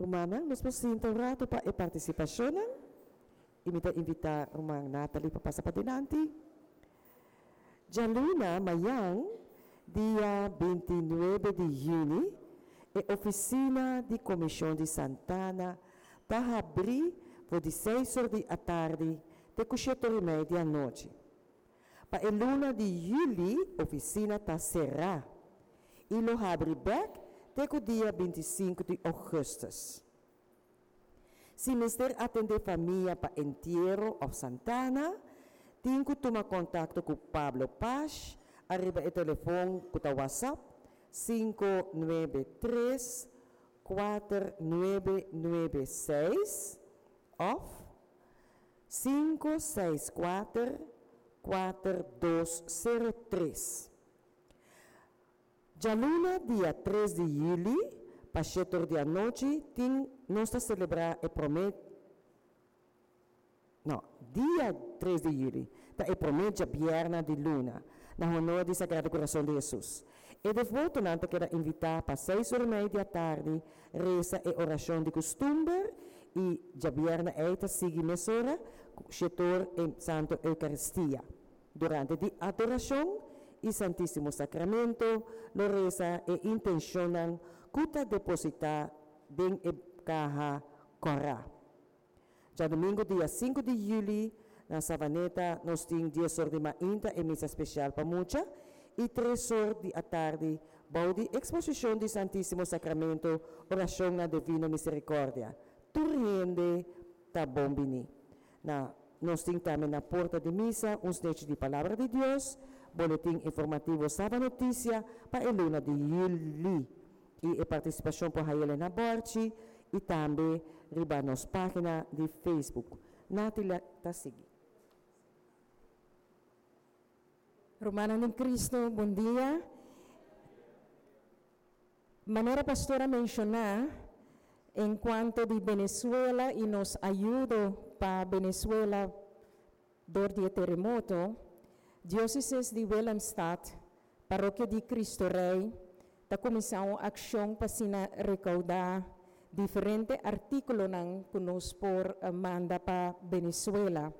Rumannan, nos por sinta un ratu pa e partisipashonnan i mi ta invitá ruman Natalie pa pasa padilanti. Djaluna, mayan, dia 29 di yüni, e ofisina di Komishon di Santana ta habrí for di seis or di atardi te ku shete or i mei di anochi. Pa e luna di yüli ofisina ta será i lo habri bèk te ku dia 25 di ougùstùs. Si mester atendé famia pa entiero òf santana, tin ku tuma kontakto ku Pablo Pash ariba e telefon ku ta WhatsApp 593 4996 òf 564 4203. Djaluna dia 3 di yüli pa 7 or di anochi tin nos ta selebrá e promé no dia 3 di yüli ta e promé djabièrnè di luna na honor di Sagrado Kurason di Hesus. E devotonan ta keda invitá pa 6 or i mei di atardi resa e orashon di kustumber i djabièrnè ei ta sigui mesora ku 7 or e Santo Eukaristia. Durante di adorashon i Santísimo Sakramento lo resa e intenshonnan ku ta depositá den e kaha kòrá. Djadumingu dia 5 di yüli na Savaneta nos tin 10 or di mainta e misa spesial pa mucha i 3 or di atardi bou di eksposishon di Santísimo Sakramento orashon na Divino Miserikòrdia. Tur hende ta bon biní. Na nos tin tambe na porta di misa un snechi di Palabra di Dios, boletin informativo Saba Notisia pa e luna di yüli i e partisipashon por hay'el na bòrchi i tambe riba nos página di Facebook. Natila ta sigui. Rumannan den Cristo, bon dia. Manera pastor a menshoná en kuanto di Venezuela i nos ayudo pa Venezuela dor di e teremoto, Diócesis di Willemstad, Parokia di Cristo Rey, ta kuminsá un akshon pa asina rekoudá diferente artíkulonan ku nos por manda pa Venezuela.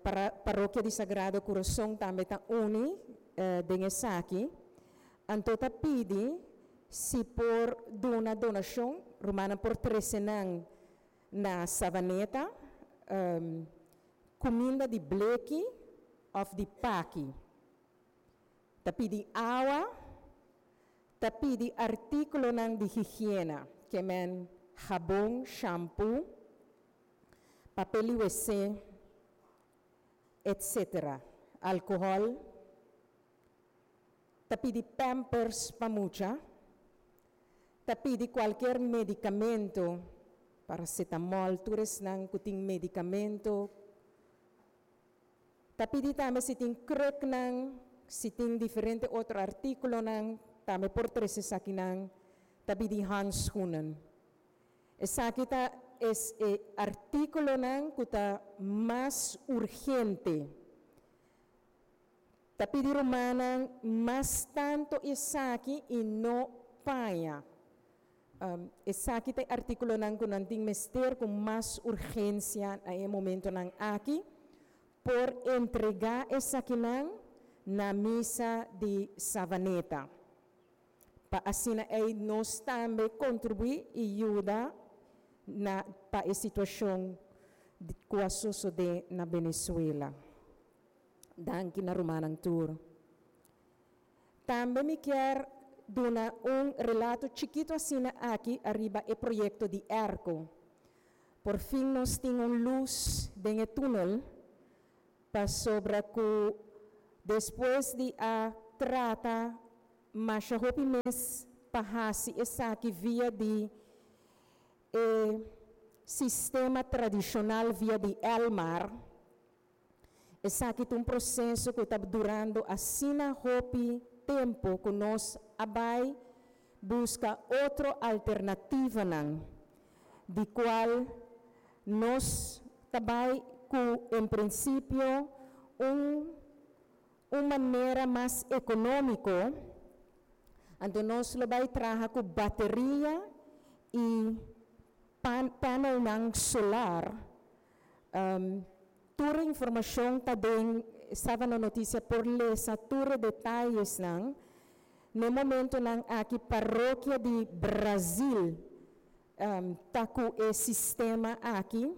Para Parokia di Sagrado Kurason tambe ta uni den esaki. Anto ta pidi si por duna donashon, rumannan por trese nan na Savaneta, kuminda di bleki òf di paki. Ta pidi awa, ta pidi artíkulonan di higiena, ke men habon, shampoo, papel di wc, etcetera. Alkohòl. Ta pidi pampers pa mucha. Ta pidi kualkier medikamento, paracetamol, tur esnan ku tin medikamento. Ta pidi tambe si tin kruknan, si tin diferente otro artíkulonan, tambe por trese esakinan. Ta pidi handschoenen. Esaki ta es e artíkulonan ku ta mas urgente. Ta pidi rumannan mas tantu esaki i no paña. Esaki ta e artíkulonan ku nan tin mester ku mas urgensia na e momentonan aki. Por entregá esakinan na misa di Savaneta. Pa asina ei nos tambe kontribuí i yuda na pa e situashon ku a sosodé na Venezuela. Danki na rumannan tur. Tambe mi kier duna un relato chikitu asina aki ariba e proyekto di airco. Por fin nos tin un lus den e túnel pasobra ku despues di a trata masha hopi mes pa hasi esaki via di e sistema tradishonal via di Elmar, esaki ta un proseso ku ta durando asina hopi tempu ku nos a bai buska otro alternativanan di kual nos ta bai ku en prinsipio un un manera mas ekonómiko, anto nos lo bai traha ku bateria i. Panelnan solar. Tur informacion ta den Sabana Noticia, por lesa tur e detayesnan. Na e momentonan aki parokia di Brazil ta cu e sistema aki,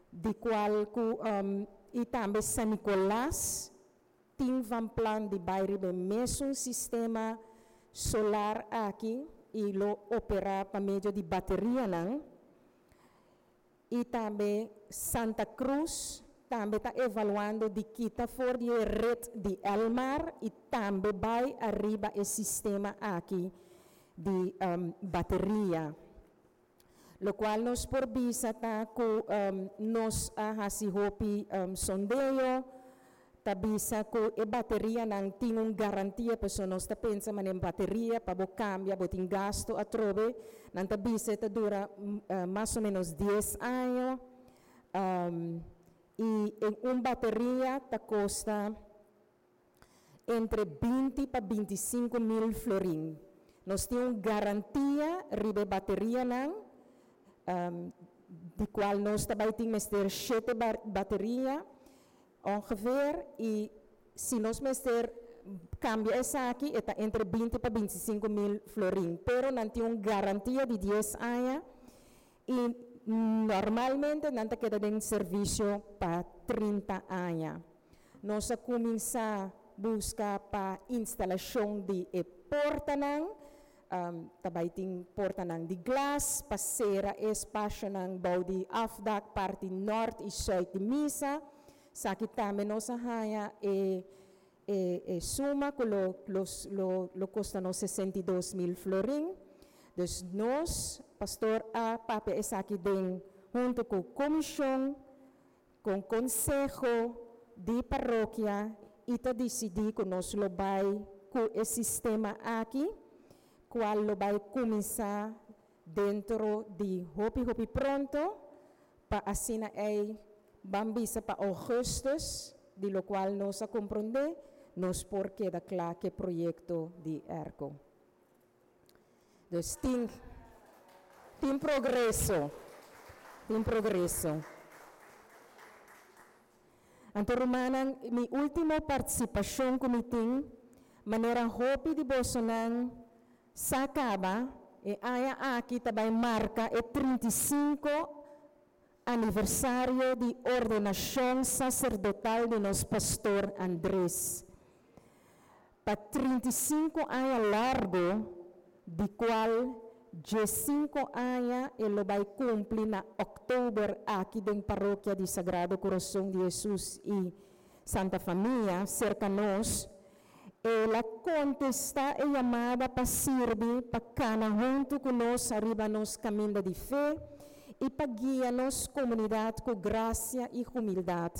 di cual cu y tambe San Nicolas tin van plan di bay riba e mesun sistema solar aki y lo opera pa medio di baterianan. Y tambe Santa Cruz tambe ta evaluando di kita for di e red di Elmar y tambe bay ariba e sistema aki di bateria. Locual nos por bisa ta cu nos a haci hopi sondeo, ta bisa cu e baterianan tin un garantia, pasobra nos ta pensa manera bateria pa bo cambia, bo tin gasto atrobe, nan ta bisa e ta dura mas o menos 10 aña, y en un bateria ta costa entre 20 pa 25 mil florin. Nos tin un garantia riba e baterianan, di cual nos ta bay tin mester 7 bateria ongeveer, y si nos mester cambia esaki, e ta entre 20 pa 25 mil florin, pero nan tin un garantia di 10 aña y normalmente nan ta keda den servicio pa 30 aña. Nos a cuminsa busca pa instalacion di e portanan, ta bay tin portanan di glas pa cera e espacionan bou di afdak parti nort y zuid di misa. Esaki tambe nos a haya e suma cu lo costa nos 62 mil florin. Dus nos, pastor a papia esaki den hunto cu comision, cu conseho di parokia y ta decidi cu nos lo bay cu e sistema aki, cual lo bay cuminsa dentro di hopi hopi pronto, pa asina ei ban bisa pa augustus, di lo cual nos a comprende, nos por keda cla cu e proyecto di airco. Dus tin progreso, tin progreso. Anto rumannan, mi ultimo participacion cu mi tin, manera hopi di bosonan sa caba, e aña aki tambe marca e 35 aniversario di ordenacion sacerdotal di nos pastor Andrés. Pa 35 aña largo, di cual 5 aña e lo bay cumpli na october aki den parokia di Sagrado Corazon di Jesus y Santa Famia, cerca nos, el a contesta e llamada pa sirbi, pa cana hunto cu nos ariba nos caminda di fe y pa guia nos comunidad cu gracia y humildad.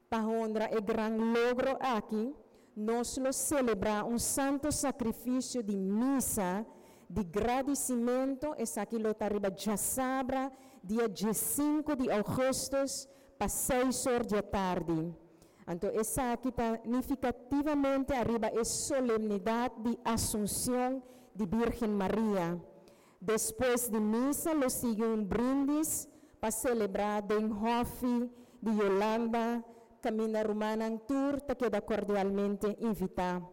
Pa honra e gran logro aki, nos lo celebra un santo sacrificio di misa di gradicimento, esaki lo ta riba diasabra, dia 5 di augustus, pa 6 or di atardi. Anto, esaki ta significativamente ariba e solemnidad di Asunción di Virgen Maria. Despues di misa lo sigui un brindis pa celebra den hofi di Yolanda, caminda rumannan tur ta keda cordialmente invita.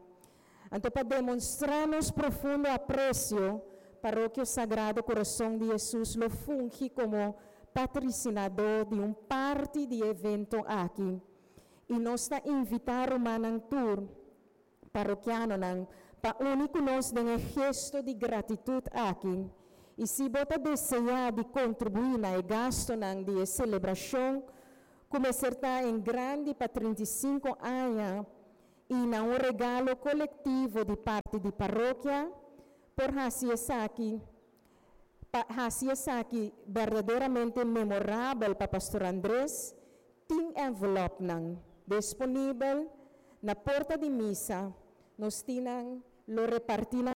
Anto, pa demostra nos profundo aprecio, Parokia Sagrado Corazón di Jesus lo fungi como patrocinador di un parti di evento aki. Y nos ta invita rumannan tur, parokianonan, pa uni cu nos den e gesto di gratitud aki. Y si bo ta desea di contribui na e gastonan di celebracion, cuminsa en grande pa 35 aña y na un regalo colectivo di parti di parokia, por haci esaki, pa haci esaki berdaderamente memorabel pa Pastor Andrés, tin envelop nan disponibel na porta di misa, nos tin nan lo reparti na.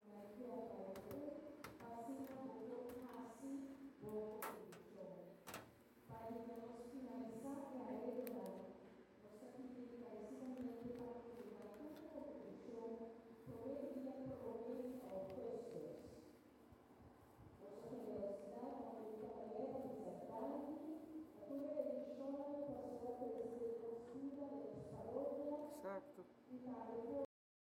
Santu.